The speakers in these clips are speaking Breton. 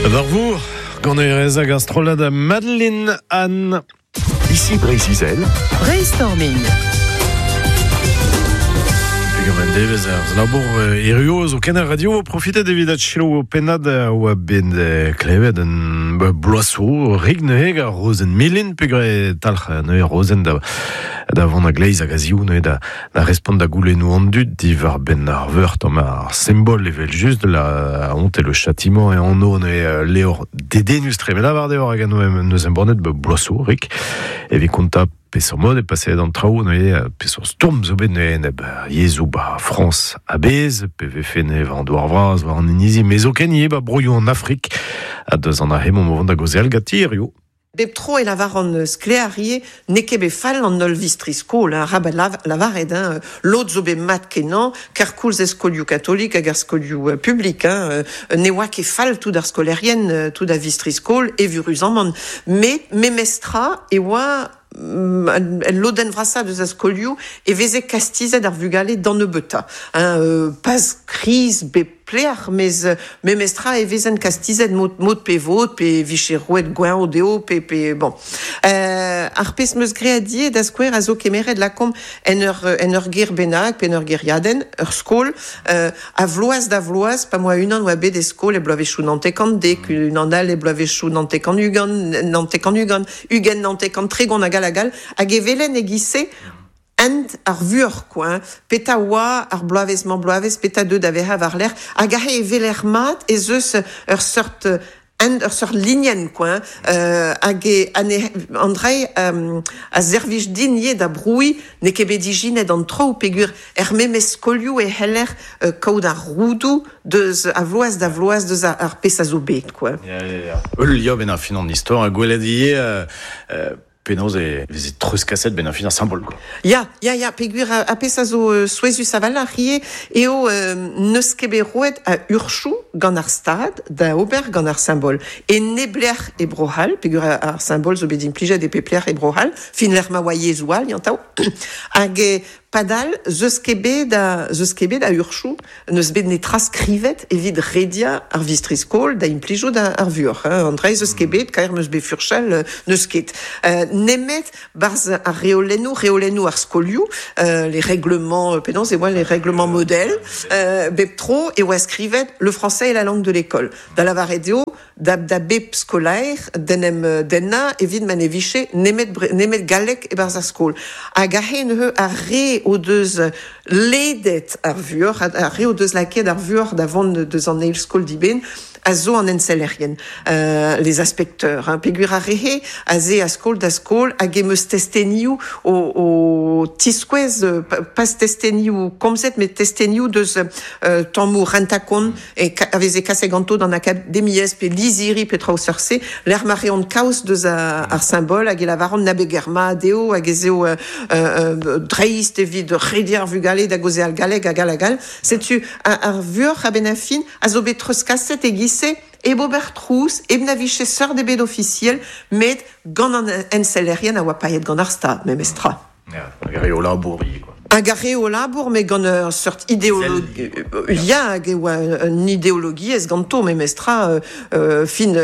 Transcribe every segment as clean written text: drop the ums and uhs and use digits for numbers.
War vor, gant erez hag ar strollad Madeline Anne. Ici Breizh-Izel. Brainstorming. Pegement devezh ar labour erruo zo ken ar radio profitet evit at selaou o pennad oa bet klevet un bloaso rig neuze ar Rozenn Milin peogwir talc'h neuze Rozenn da da vont a gleiz hag a ziv neuze da da respont da goulennoù an dud diwar benn ar veur tamm ar symbol evel just la honte et le châtiment e anv neuze levr dedennus tre met lavar deoc'h hag neus embannet bloaso rik evit kontañ peseurt mod e paseet an traoù neuze peseurt stourm zo bet neuze enep yezhoù ba Frañs a-bezh pe vefe neuze war an douar vras war an inizi met zoken ivez ba broioù an Afrik ha deus an aze emaomp o vont da gaozeal ganti hiziv. Bep tro e lavaran sklaer ivez n'eo ket bet fall an holl vistri-skol, hein, arabat lavaret, hein, lod zo bet mat-kenañ, kerkoulz er skolioù katolik hag er skolioù publik, hein, ne oa ket fall tout ar skolaerien, tout ar vistri-skol, evuruzamant. Met memestra e oa el lodenn vrasañ deus ar skolioù e veze kastizet ar vugale d'an nebeutañ, hein, pas kriz bep Pleac'h, mes memestra e vezent kastizet mod, mod pe vod, pe vije roet gweñv dezho, pe, pe bon. Ar pezh 'meus graet ivez, da skouer, a zo kemeret lakaomp en ur, en ur gêr bennak pe en ur gêriadenn, ur skol, a vloaz da vloaz, pa 'moa unan oa bet e skol e bloavezhioù 90, unan all e bloavezhioù 90, 90, 20, 90, 30 hag all hag all, hag e welen e-giz-se Hent ar vuoc'h kwa hein, petra oa ar bloavezh-mañ-bloavezh, petra deu da vezañ war-lerc'h, hag aze e weler mat ez eus ur seurt hent, ur seurt linenn kwa hein, hag e an dra-se a servij din ivez da brouiñ n'eo ket bet ijinet an traoù peogwir er memes skolioù e c'heller kaout ar roudoù deus a vloaz da vloaz deus ar pezh a zo bet kwa. Ya, ya, ya. Ul liamm en fin an istor, gwelet ivez Penaos e veze treuzkaset benn ar fin ar simbol quoi. Ya, ya, ya, peogwir ar pezh a zo souezhus a-walc'h ivez eo n'eus ket bet roet a urzhioù gant ar Stad da ober gant ar simbol. E neblec'h e Bro-C'hall, peogwir ar simbol zo bet implijet e pep lec'h e Bro-C'hall, fin lec'h ma oa yezhoù all, yantav. Hag Padal, 'z eus ket bet a, 'z eus ket bet a urzhioù, n'eus bet netra skrivet evit rediañ ar vistri-skol da implijout ar vuoc'h. Hein. An dra 'z eus ket bet, kaer 'm eus bet furchal, n'eus ket. Nemet 'barzh ar reolennoù, reolennoù ar skolioù, les règlements, penaos e oa les règlements modèles, bep tro e oa skrivet le français est la langue de l'école. Da lavaret eo, da, da bep skolaer d'en em dennañ evit ma ne vije nemet, nemet galleg e-barzh ar skol. Hag aze neuze ar re o deus ledet ar vuoc'h, ar re o deus lakaet ar vuoc'h da vont deus an eil skol dibenn, a zo an ensellerien, les inspecteurs, hein, peogwir ar re-se a 'z a skol da skol hag em eus testenioù o, o tiskouez, pas testenioù komzet, met testenioù deus tammoù rentañ-kont e a veze kaset ganto d'an akademiezh pe lizhiri pe traoù seurt-se, lec'h ma reont kaoz deus ar simbol hag e lavaront na beger mat eo hag ez eo dreist evit rediañ ar vugale da gaozeal galleg hag all hag all. Setu ar vuoc'h a-benn ar fin a zo bet treuzkaset e-giz-se hep ober trouz, hep na vije seurt ebet ofisiel, met gant an ensellerien a oa paeet gant ar Stad memestra. Ya, hag ar re o labour ivez quoi. Hag ar re o labour, met gant ur seurt ideologie, ya, hag e oa un ideologiezh ganto memestra, fin,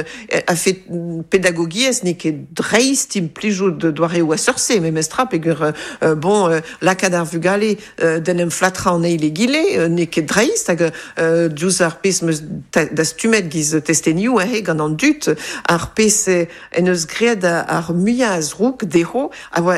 a-fet pedagogiezh n'eo ket dreist implijout doareoù a seurt-se memestra, peogwir, bon, lakaat ar vugale d'en em flatrañ an eil egile n'eo ket dreist, hag diouzh ar pezh 'm eus dastumet giz testenioù aze gant an dud, ar pezh en deus graet ar muiañ a zroug dezho a oa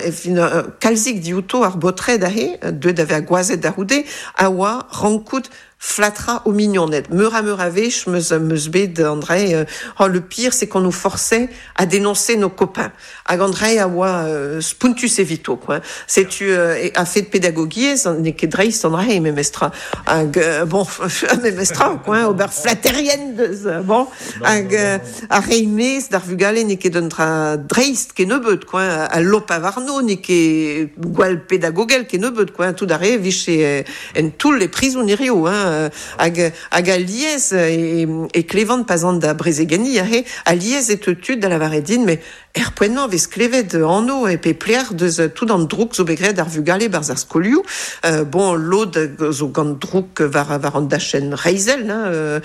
kalzik diouto ar baotred aze, deuet da vezañ gwazed da c'houde, a oa rankout flatrañ o mignoned. Meur ha meur a wech 'm eus bet an dra-se, oh, le pire c'est qu'on nous forçait à dénoncer nos copains. Hag an dra-se a oa spontus evito, quoi. Setu a-fet pedagogiezh, n'eo ket dreist an dra-se memestra. Hag bon, memestra, quoi, ober flaterien deus, bon. Hag ar reiñ maez d'ar vugale n'eo ket un dra dreist kennebeut, quoi. Al lopañ warno n'eo ket gwall pedagogel kennebeut, quoi. Tout ar re vije en toull e prizon hirio, hein. hein, hag a liez e klevan pas an da brezegeni ahe, a liez e tud da lavaret din, mais er poent-mañ vez klevet anv e pe plec'h deus tout an drouk zo bet graet ar vugale barzh ar skolioù. Bon, lod zo gant drouk war an dachenn reizhel, hein,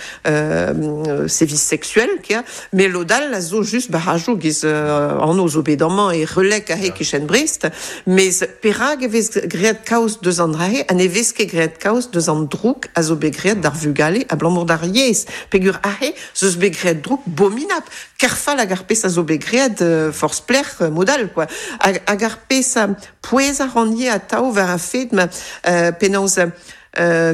sévices sexuels, kia, met lod all a zo just barajoù giz anv zo bet amañ e Relek ahe kichen Brest, mes perak e vez graet kaoz deus an dra-se ha ne vez ket graet kaoz deus an drouk a zo bet graet d'ar vugale abalamour d'ar yezh. Peogwir ahe zo eus bet graet drouk bominap, kerfall hag ar pezh a zo bet graet forzh plec'h mod all, quoi. Hag ar pezh a pouez a ran ivez atav war ar fed ma penaos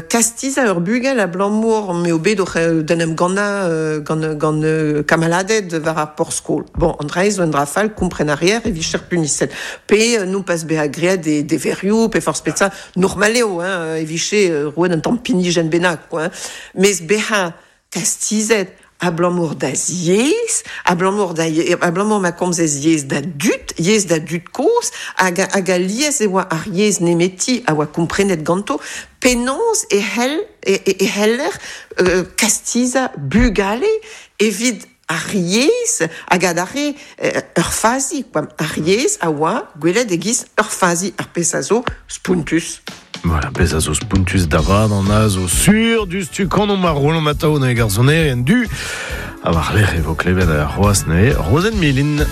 kastizañ ur bugel abalamour m'eo bet oc'h d'en em gannañ gant kamaladed war ar porzh-skol. Bon, an dra-se zo un dra fall, kompren a reer e vije puniset. Pe non pas bezañ graet e deverioù, pe forzh petra, normal eo, hein, e vije roet un tamm pinijenn bennak, quoi, hein. Mes bezañ kastizet abalamour d'az yezh, abalamour da abalamour ma komzez yezh da dud, yezh da dud kozh, hag hag alies e oa ar yezh nemeti a oa komprenet ganto, penaos e c'hell e c'heller kastizañ bugale evit ar yezh hag adarre ur fazi, quoi. Ar yezh a oa gwelet e-giz ur fazi, ar pezh a zo spontus. Voilà, pezh a zo spontus da vat an a zo sur diouzhtu kanomp ar Roland Matao neuze gar sonerien du. Ha war-lerc'h e vo klevet ar c'hoazh neuze Rozenn Milin.